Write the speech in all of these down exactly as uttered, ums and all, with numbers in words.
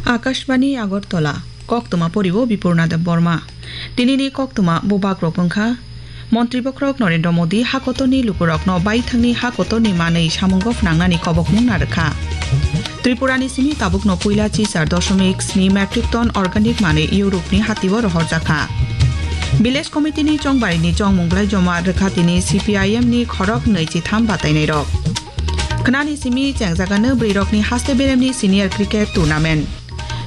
Akashbani Agartala, koktwma poriwo Bipurna Debbarma. Tinini koktwma bubagrok wngkha, Montri Bokhorok Narendra Modi hakotorni lukurokno baithangni hakotorni manwi samungo phnangnani kobokmung narwkha. Tripurani simi tabukno puila chichar dosomik sni metric ton organic manwi Europe-ni hatio rohorjakha. Village Committee-ni chongbarini chongmung belai joma rwkha tini C P I M-ni khorok nwi chitham batainairok. Khnani simi chengjagano bwrwirokni haste beremni senior cricket tournament.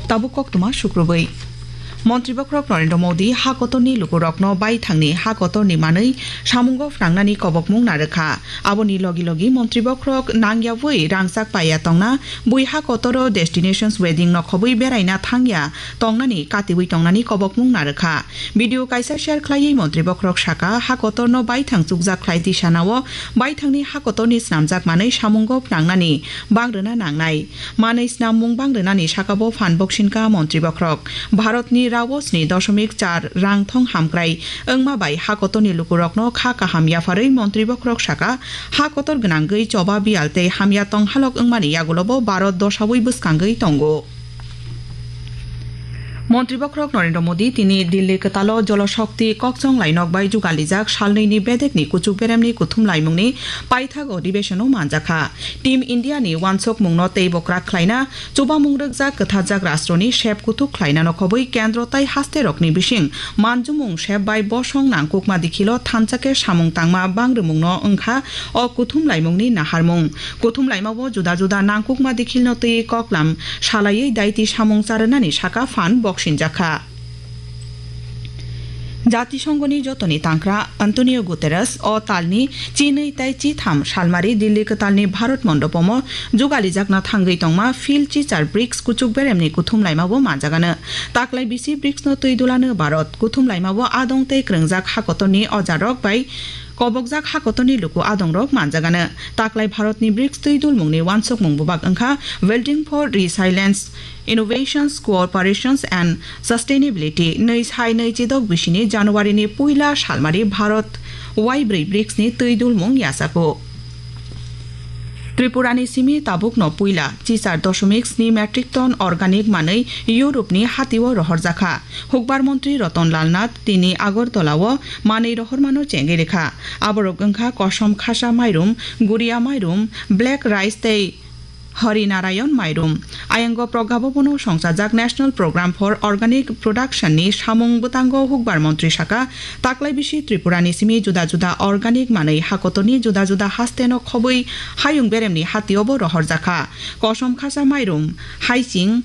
Tabuk koktwma sukrubwi. Montri Bokhorok Narendra Modi hakotorni lukurokno baithangni hakotorni manwi samungo phnangnani kobokmung narwkha. Aboni logi logi Montri Bokhorok nangyawi rangchak paiya tongna, bui hakotoro destinations wedding nokhobwi beraina thangya tongnani katiwi tongnani kobokmung narwkha. Video kaisa share khlaiwi Montri Bokhorok saka, hakotorno baithang chukjak khlai tisanao baithangni hakotorni snamjak manwi samungo phnangnani bangrwna nangnai. Manwi snammung bangrwnani sakabo phan boksinka Montri Bokhorok. Bharatni rao sni dosomik char rang thong hamkrai wngma bai hakotorni lukurokno kha kaham yapharwi Montri Bokhorok saka, hakotor gwnangwi choba biyal tei hamya tong halok wngmani yagulobo Bharat dosawi bwskangwi tongo. Montri Bokhorok Narendra Modi tini Delhi kwtalo Jolo Shakti kokchong lainok bai jugalijak salnwini bedekni kuchuk beremni kuthum laimungni paithak odibeshono manjakha. Team India ni wansokmungno teibo kwrak khlaina, chubamung rwkjak kwtharjak rastroni sep kuthuk khlaina nokhobwi kendro tai hasterokni bising manjumung sep bai bosong nangkukma dikhilo thansa khe samung tangma bangrwmungno wngkha o kuthum laimungni naharmung. Kuthum laimao juda juda nangkukma dikhilno twiwi koklam salaiwi daiti samung charwnani saka phan boksinjakha. Jatisongoni jotoni tangkra Antonio Guterres o talni chinwi tai chitham salmari Delhi kwtalni Bharat Mondopomo jugalijakna thangwi tongma Phil Chichar brics kuchuk beremni kuthum laimao manjagano. Taklai bisi bricsno twi dulano Bharat, kuthum laimao adong tei kwrwngjak hakotorni ojarok bai kobokjak hakotorni luku adongrok manjagano. Taklai Bharatni brics twi dulmungni wansokmung bubak wngkha Building for Resilience, Innovations, Cooperations and Sustainability, nwi sai nwi chidok bisini January ni puila salmari Bharat waibrwi bricsni twi dulmung yachago. Tripurani simi tabukno puila chichar dosomik sni metric ton organic manwi Europe-ni hatio rohorjakha. Hukbar montri Ratan Lal Nath tini Agartala-o manwi rohormano chengwi rwkha. Aborok wngkha kosom khasa mairum, guria mairum, black rice tei Hari Narayan mairum. Ayango Pragya Bhavan-o songchajak National Program for Organic Production-ni samung bwtango hukbar montri saka, taklai bisi Tripurani simi juda juda organic manwi hakotorni juda juda hasteno khobwi hayung beremni hatiobo rohorjakha. Kosom khasa mairum, haiching,